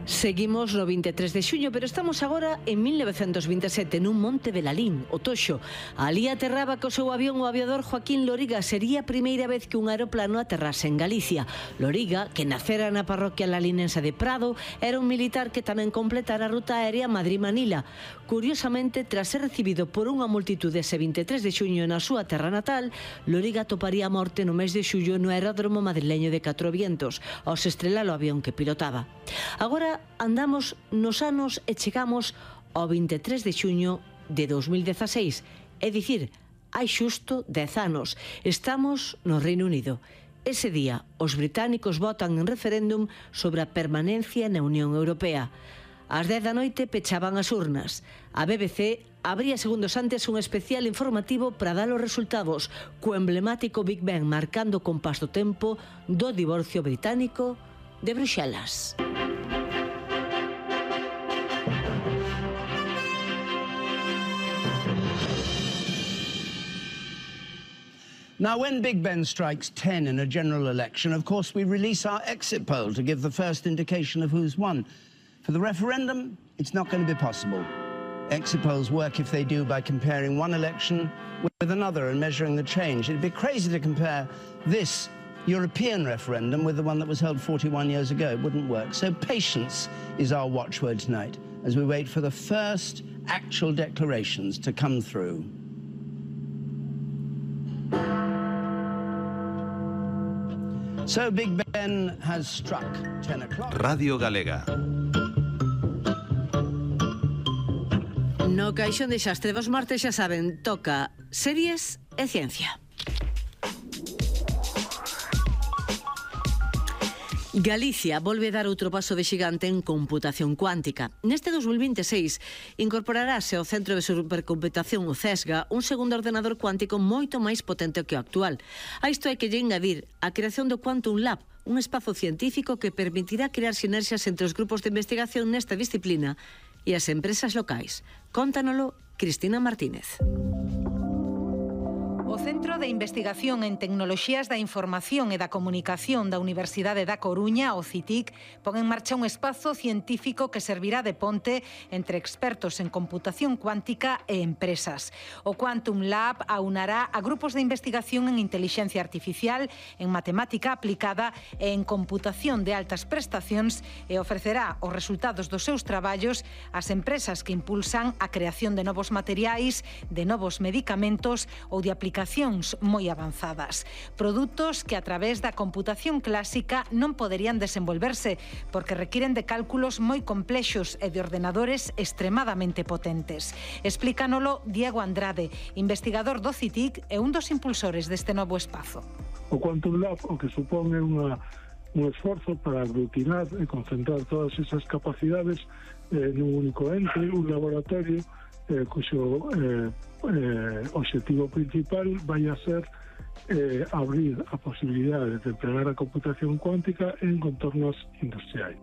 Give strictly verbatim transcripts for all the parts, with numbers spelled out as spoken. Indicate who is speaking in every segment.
Speaker 1: Seguimos no vinte e tres de xuño, pero estamos agora en mil novecentos vinte e sete nun monte Belalín, o Toxo. Alí aterraba co seu avión o aviador Joaquín Loriga. Sería a primeira vez que un aeroplano aterrase en Galicia. Loriga, que nacera na parroquia lalinense de Prado, era un militar que tamén completara a ruta aérea Madrid-Manila. Curiosamente, tras ser recibido por unha multitude ese vinte e tres de xuño na súa terra natal, Loriga toparía a morte no mes de xullo no aeródromo madrileño de Catro Vientos, ao se estrelar o avión que pilotaba. Agora andamos nos anos e chegamos ao vinte e tres de xuño de dos mil dezaseis, é dicir, hai xusto dez anos. Estamos no Reino Unido. Ese día, os británicos votan en referéndum sobre a permanencia na Unión Europea. Ás dez da noite pechaban as urnas. A B B C abría segundos antes un especial informativo para dar os resultados, co emblemático Big Ben marcando o compás do tempo do divorcio británico de Bruxelas.
Speaker 2: Now, when Big Ben strikes ten in a general election, of course, we release our exit poll to give the first indication of who's won. For the referendum, it's not going to be possible. Exit polls work, if they do, by comparing one election with another and measuring the change. It'd be crazy to compare this European referendum with the one that was held forty-one years ago. It wouldn't work. So patience is our watchword tonight as we wait for the first actual declarations to come through. So Big Ben has struck ten o'clock.
Speaker 3: Radio Galega.
Speaker 1: No caixón de xastre dos martes, xa saben, toca series e ciencia. Galicia volve dar outro paso de xigante en computación cuántica. Neste dos mil vinte e seis incorporarase ao Centro de Supercomputación, o CESGA, un segundo ordenador cuántico moito máis potente que o actual. A isto hai que lle engadir a creación do Quantum Lab, un espazo científico que permitirá crear sinerxias entre os grupos de investigación nesta disciplina e as empresas locais. Cóntanolo Cristina Martínez.
Speaker 4: O Centro de Investigación en Tecnoloxías da Información e da Comunicación da Universidade da Coruña, o CITIC, pon en marcha un espazo científico que servirá de ponte entre expertos en computación cuántica e empresas. O Quantum Lab aunará a grupos de investigación en inteligencia artificial, en matemática aplicada e en computación de altas prestacións e ofrecerá os resultados dos seus traballos ás empresas que impulsan a creación de novos materiais, de novos medicamentos ou de aplicacións moi avanzadas. Produtos que a través da computación clásica non poderían desenvolverse porque requiren de cálculos moi complexos e de ordenadores extremadamente potentes. Explícanolo Diego Andrade, investigador do CITIC e un dos impulsores deste novo espazo.
Speaker 5: O Quantum Lab o que supón é unha, un esforzo para aglutinar e concentrar todas esas capacidades eh, nun único ente, un laboratorio eh, cuxo eh, eh, objetivo principal vai a ser eh, abrir a posibilidade de emplear a computación cuántica en contornos industriais.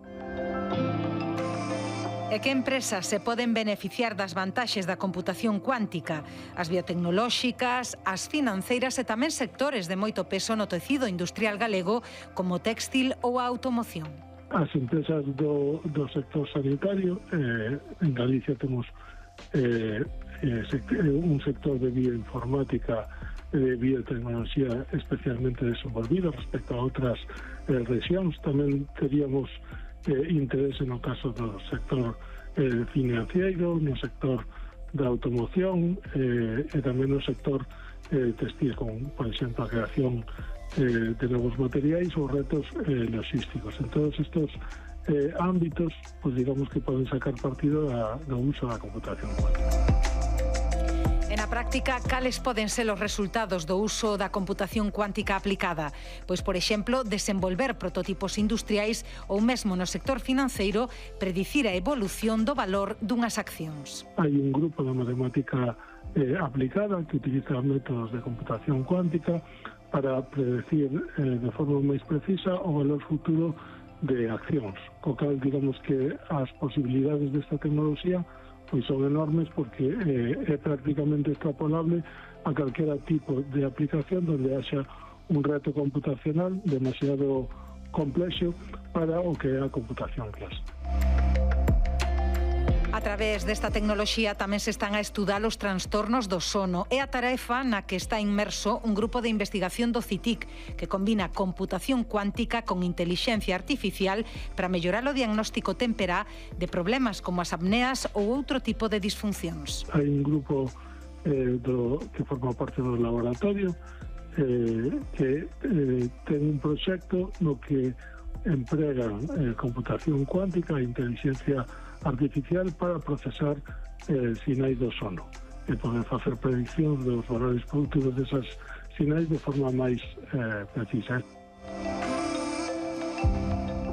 Speaker 4: E que empresas se poden beneficiar das vantaxes da computación cuántica? As biotecnolóxicas, as financeiras e tamén sectores de moito peso no tecido industrial galego como textil ou a automoción.
Speaker 5: As empresas do, do sector sanitario, eh, en Galicia temos eh, un sector de bioinformática e de biotecnoloxía especialmente desenvolvido respecto a outras eh, rexións. Tamén teríamos eh, interese no caso do sector eh, financiero, no sector da automoción eh, e tamén no sector eh, textil, con, por exemplo, a creación eh, de novos materiais ou retos eh, logísticos. En todos estos eh, ámbitos, pues digamos que poden sacar partido da, do uso da computación cuántica.
Speaker 4: E na práctica, cales poden ser os resultados do uso da computación cuántica aplicada? Pois, por exemplo, desenvolver prototipos industriais ou mesmo no sector financeiro predicir a evolución do valor dunhas accións.
Speaker 5: Hai un grupo de matemática eh, aplicada que utiliza métodos de computación cuántica para predecir eh, de forma máis precisa o valor futuro de accións, co cal digamos que as posibilidades desta tecnoloxía pois son enormes porque eh, é prácticamente extrapolable a calquera tipo de aplicación donde haxa un reto computacional demasiado complexo para o que é a computación clásica.
Speaker 4: A través desta tecnoloxía tamén se están a estudar os trastornos do sono. É a tarefa na que está inmerso un grupo de investigación do CITIC que combina computación cuántica con intelixencia artificial para mellorar o diagnóstico temperá de problemas como as apneas ou outro tipo de disfuncións.
Speaker 5: Hai un grupo eh, do, que forma parte do laboratorio eh, que eh, ten un proxecto no que empregan eh, computación cuántica e inteligencia artificial para procesar eh, sinais do sono e poder facer predicción dos valores productivos desas sinais de forma máis eh, precisa.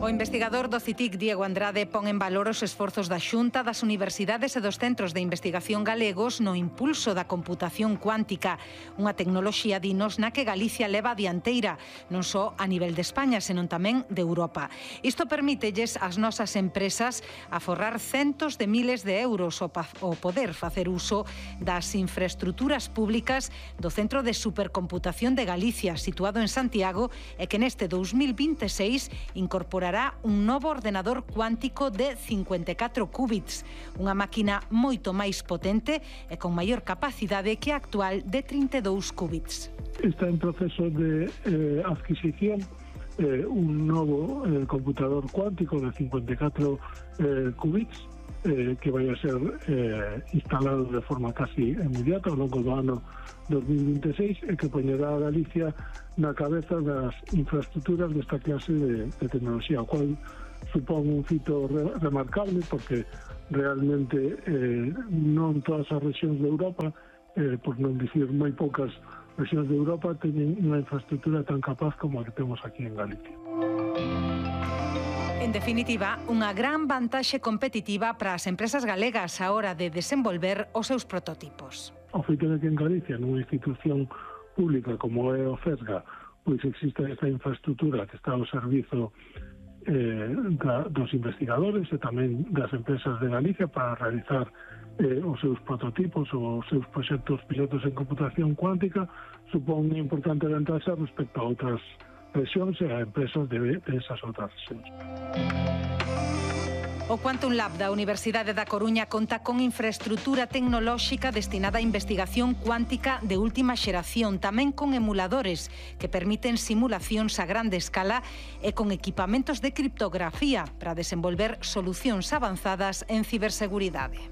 Speaker 4: O investigador do CITIC, Diego Andrade, pon en valor os esforzos da Xunta, das universidades e dos centros de investigación galegos no impulso da computación cuántica, unha tecnoloxía, dinos, na que Galicia leva a dianteira, non só a nivel de España, senón tamén de Europa. Isto permítelles ás nosas empresas aforrar centos de miles de euros o poder facer uso das infraestruturas públicas do Centro de Supercomputación de Galicia, situado en Santiago, e que neste dous mil vinte e seis incorporará un novo ordenador cuántico de cincuenta e catro qubits, unha máquina moito máis potente e con maior capacidade que a actual de trinta e dous qubits.
Speaker 5: Está en proceso de eh, adquisición eh, un novo eh, computador cuántico de cincuenta e catro eh, qubits eh, que vai a ser eh, instalado de forma casi inmediata ao longo do ano dos mil vinte e seis e que poñerá a Galicia na cabeza das infraestructuras desta clase de, de tecnoloxía, o cual supón un fito re, remarcable porque realmente eh, non todas as rexións de Europa, eh, por non dicir moi poucas rexións de Europa, teñen unha infraestructura tan capaz como a que temos aquí en Galicia.
Speaker 4: En definitiva, unha gran vantaxe competitiva para as empresas galegas a hora de desenvolver os seus prototipos.
Speaker 5: O feito de que en Galicia, nunha institución pública como é o FESGA, pois existe esta infraestructura que está ao servizo eh, da, dos investigadores e tamén das empresas de Galicia para realizar eh, os seus prototipos ou os seus proxectos pilotos en computación cuántica, supón unha importante ventaxa respecto a outras rexións e a empresas de, de esas outras rexións.
Speaker 4: O Quantum Lab da Universidade da Coruña conta con infraestrutura tecnolóxica destinada a investigación cuántica de última xeración, tamén con emuladores que permiten simulacións a grande escala e con equipamentos de criptografía para desenvolver solucións avanzadas en ciberseguridade.